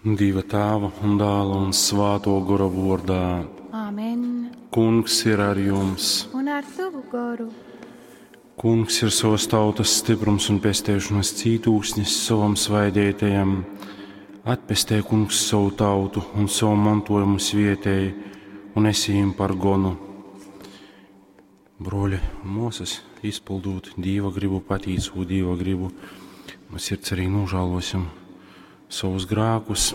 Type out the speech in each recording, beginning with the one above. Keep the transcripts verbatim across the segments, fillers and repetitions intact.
Dieva Tēva un Dēla un Svāto Gora vārdā. Āmen. Kungs ir ar jums. Un ar tavu goru. Kungs ir savas tautas stiprums un pestēšanas cītūksnis savam svaidētajam. Atpestē kungs savu tautu un savu mantojumu svietēji un esi viņiem par gonu. Broļi un mūsas, izpildot Dieva gribu, patīcot Dieva gribu, mēs sirds arī nožēlosim savus grēkus,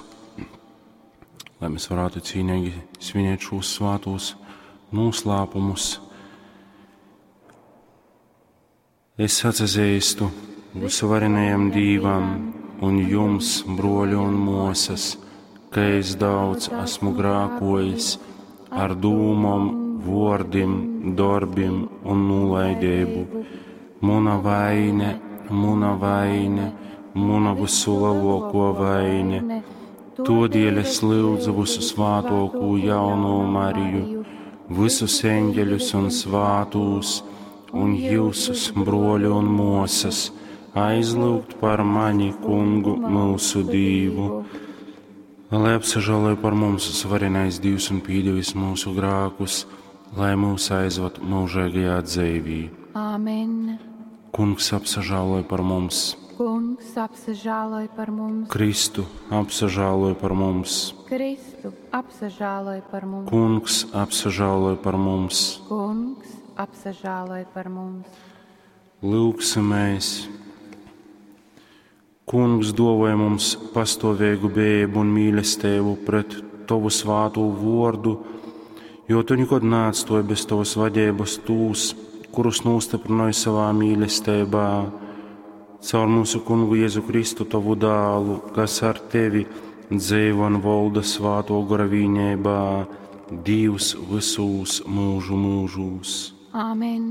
lai mēs varētu cīnīgi svinēt šos svātos noslēpumus. Es atzīstu visuvarenajam Dievam un jums, broļi un mūsas, ka es daudz esmu grākojis ar dūmom, vārdim, darbim un nolaidību. Muna vaine, muna vaine, muna visu lielāko vaine. Todēļ es lūdzu visu svātoko jauno Mariju, visus eņģeļus un svātūs, un jūsus broļu un mūsas, aizlūgt par mani, kungu, mūsu Dievu. Lai apsažēloja par mums svarenais Dievs un pīdevis mūsu grākus, lai mūs aizvad mūžīgajā dzīvī. Āmen. Kungs apsažēloja par mums, Kungs apsažēloj par mums. Kristu apsažēloja par mums, Kristu apsažēloj par mums. Kungs apsažēloja par mums. Kungs apsažēloj par mums. Lūksimies! Kungs dovoja mums pastāvīgu bēbu un mīlestību pret Tavu svāto vārdu, jo Tu nekad neatstāji bez Tavas vadības tūs, kurus nostiprināji savā mīlestībā. Caur mūsu kungu Jēzu Kristu, Tavu dēlu, kas ar Tevi dzīvo un valda svāto gora vīnībā, Dievs visūs mūžu mūžūs. Āmen.